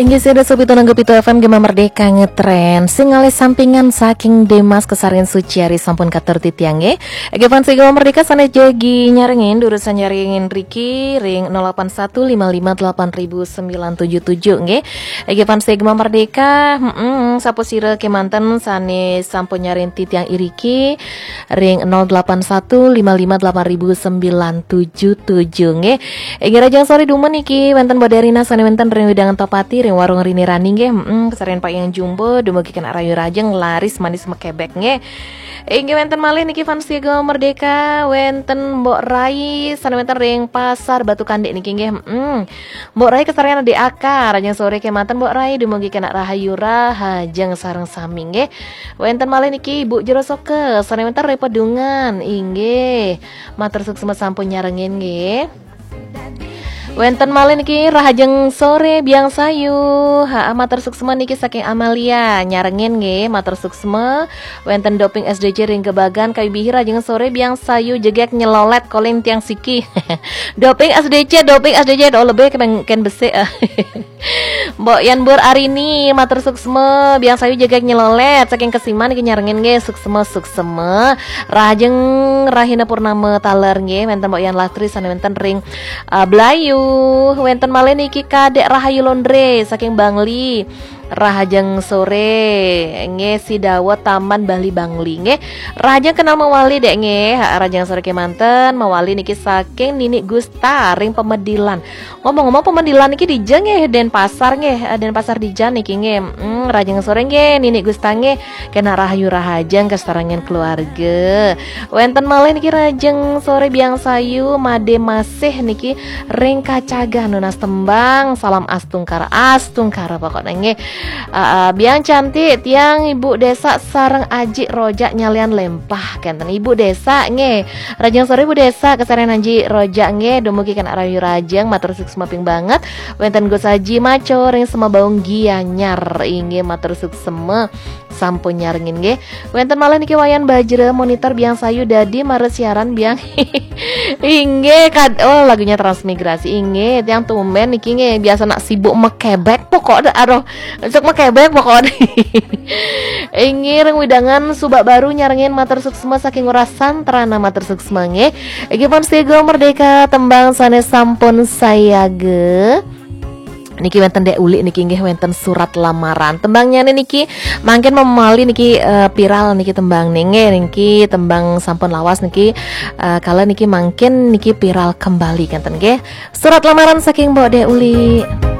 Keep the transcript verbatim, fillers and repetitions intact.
Inggih, sida sopi tunangga pitu F M Gema Merdeka ngetren. Sing ngalih sampingan saking Demas Kesarin Suciari sampun katur titiang nggih. Nggih, fans Gema Merdeka sané jagi nyarengin, durusang nyarengin riki ring nol delapan satu lima lima delapan ribu sembilan tujuh tujuh nggih. Nggih, fans Gema Merdeka, mm, sapa sira kemanten sané sampun nyarengin titiang iriki ring nol delapan satu lima lima delapan ribu sembilan tujuh tujuh nggih. Inggih, rahajeng soré dumun niki wénten Mbok Derina sané wénten ring wewidangan Topati ring warung Rini Rani nggih. Heeh, kasarengin Pak Yang Jumbo dumugi kenak rahayu rahajeng laris manis mekebek nggih. Inggih, wénten malih niki fans Gema Merdeka, wénten Mbok Rai sané wénten ring Pasar Batu Kandik niki nggih. Heeh. Mbok Rai kasarengin Adi Aka, rahajeng soré kemanten Mbok Rai dumugi kenak rahayu rahajeng sareng sami nggih. Wénten malih niki Ibu Jero Soke sané wénten ring Pedungan. Inggih. Matur suksma sampun nyarengin nggih. Wénten malih niki rahajeng soré Biang Sayu. Ha, matur suksma niki saking Amalia nyarengin nggih, matur suksma. Wénten Doping S D C ring Gebagan, Kayu Bihir, rahajeng soré Biang Sayu, jegég nyelolet koling tiang siki. Doping S D C, Doping S D C do lebih kén, kén besik. Mbok Yan Bur Arini, matur suksma, Biang Sayu jegég nyelolet saking Kesiman niki nyarengin nggih, suksma, suksma. Rahajeng rahina purnama taler nggih, wénten Mbok Yan Lastri sané wénten ring, uh, Blayu, wénten malih niki Kadék Rahayu Londre saking Bangli. Rahajeng soré nggih, Sidawa Taman Bali Bangli nggih. Rahajeng kenal mawali Dék nggih. Ha, rahajeng soré kemanten, mawali niki saking Nini Gusta ring Pemedilan. Ngomong-ngomong, Pemedilan niki dija nggih, Denpasar nggih, eh, Denpasar dija niki nggih. Hmm, rahajeng soré nggih, Nini Gusta nggih. Kenak rahayu rahajeng kasarengin keluarga. Wénten malih niki rahajeng soré Biang Sayu, Madé Masih niki ring Kacagan nunas tembang, salam astungkara, astungkara pokoknya nggih. Ah, ah, Biang Cantik, tiang Ibu Desa sareng Aji Rojak nyalian lempah, kénten Ibu Desa nggih. Rahajeng soré Ibu Desa, kasarengin Aji Rojak nggih, dumugi kenak rahayu rahajeng, matur suksma ping banget. Wénten Gus Aji Maco ring Semabaung Gianyar, inggih matur suksma sampun nyarengin nggih. Wénten malih niki Wayan Bajra, monitor Biang Sayu dadi mara siaran Biang. Inggih, kad-, oh, lagunya Transmigrasi. Inggih, tiang tumben niki nggih, biasa nak sibuk mekebek pokok dah, aduh, suk mekebek pokok. Inggih, ring wewidangan Subak Baru nyarengin, matur suksma saking Ngurah Santrana, matur suksma nggih. Inggih, fans Gema Merdeka, tembang sané sampun sayaga. Niki wénten Dék Uli niki nggih, wénten Surat Lamaran. Tembangnyané niki mangkin memali niki, eh, viral niki tembang nggih, niki tembang sampun lawas niki, eh, kala niki mangkin niki viral kembali kénten nggih. Surat Lamaran saking Mbok Dék Uli.